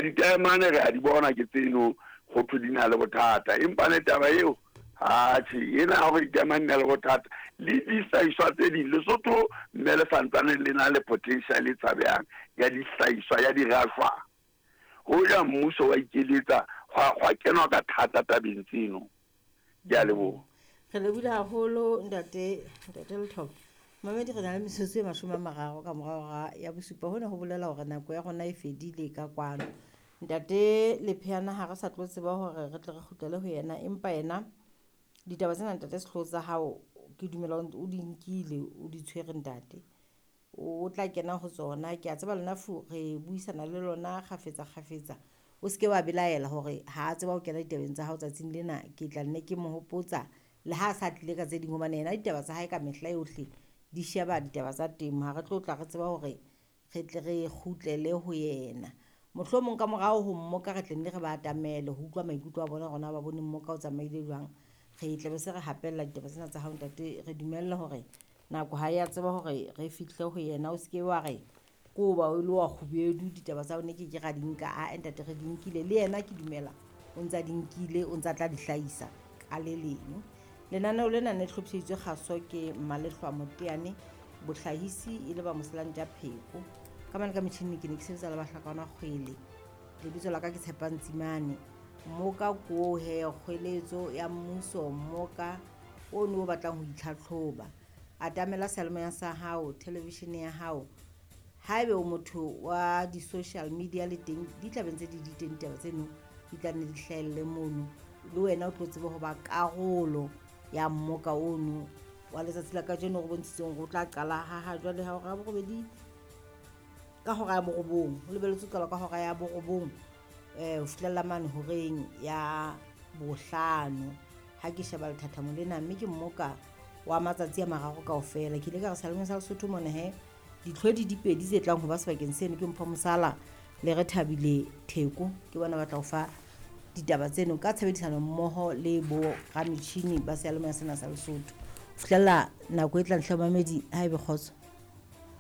Ya ditaemane re a di bona ke tseno go thwe di na le bothata, empa ne taba eo atjhe ena ya hore ditaemane di na le bothata le dihlahiswa tse ding, Lesotho mme le santsane le na le potential e tshabehang ya dihlahiswa ya dirashwa. Hoja mmuso wa ikeletsa hwa kenwa ka thata tabeng tseno. Ke a leboha. Re lebohile haholo ntate, ntate Lethoba. Mamedi re na le metsotso e 30 ka morao hora ya bosupa. Hona ho bolela hore nako ya rona e fedile ka kwano. Ntate Lepheana ha re sa tlo tseba hore re tle re kgutlele ho yena, empa yena ditaba tsena ntate Sehloho tsa hao ke dumela o di nkile, o di tshwere ntate. O tla kena ho tsona. Ke a tseba lona fu re buisana le lona kgafetsa kgafetsa. O seke wa belaela hore ha a tseba ho kena ditabeng tsa hao tsatsing lena, ke tla nne ke mo hopotsa le ha a sa tlile ka tse ding hobane yena ditaba tsa hae ka mehla yohle di sheba ditaba tsa temo. Ha re tlo tla re tseba hore re tle re kgutlele ho yena. Mohlomong ka morao ho mmoka re tle nne re ba atamele ho utlwa maikutlo a bona hore na ba bone mmoka o tsamaile jwang. Re tla be se re hapella ditaba tsena tsa hao ntate, re dumelle hore nako ha ya tseba hore re fihle ho yena. O seke wa re ko ba o le wa kgubedu ditaba tsa hao ne ke ke ra di nka. Ae ntate re di nkile, le yena ke dumela o ntsa di nkile, o ntsa tla di hlahisa ka le leng. Lenaneo lena ne hlophiseditswe kgaso ke Mmalehlwa Moteane, bohlahisi e le ba Moselantja Pheko. Ka mane ka metjhining ke ne ke sebetsa le Bahlakwana Kgwele. Lebitso la ka ke Tshepang Tsimane. Mmoka ko he kgweletso ya mmuso, mmoka ono o batlang ho itlhatlhoba. Atamela seyalemoya sa hao, television ya hao. Haebe o motho wa di-social media le teng, di tla be ntse di di teng ditaba tseno, di tla nne di hlahelle mono. Le wena o tlo tsebe ho ba karolo ya mmoka ono wa letsatsi la kajeno re bontshitseng hore o tla qala ha jwale ha hora ya borobedi ka hora ya borobong. Ho lebelletswe ho qala ka hora ya borobong ho fihlella mane horeng ya bohlano. Ha ke sheba lethathamo lena, mme ke mmoka wa matsatsi a mararo kaofela. Ke ile ka re seyalemoya sa Lesotho mona he ditlhodi di pedi tse tlang ho ba sebakeng seno ke Mpho Mosala le Rethabile Theko. Ke bona ba tla o fa ditaba tseno ka tshebedisano mmoho le bo rametjhini ba seyalemoya sena sa Lesotho. Ho fihlella nako e tlang hle mamedi, ha ebe kgotso.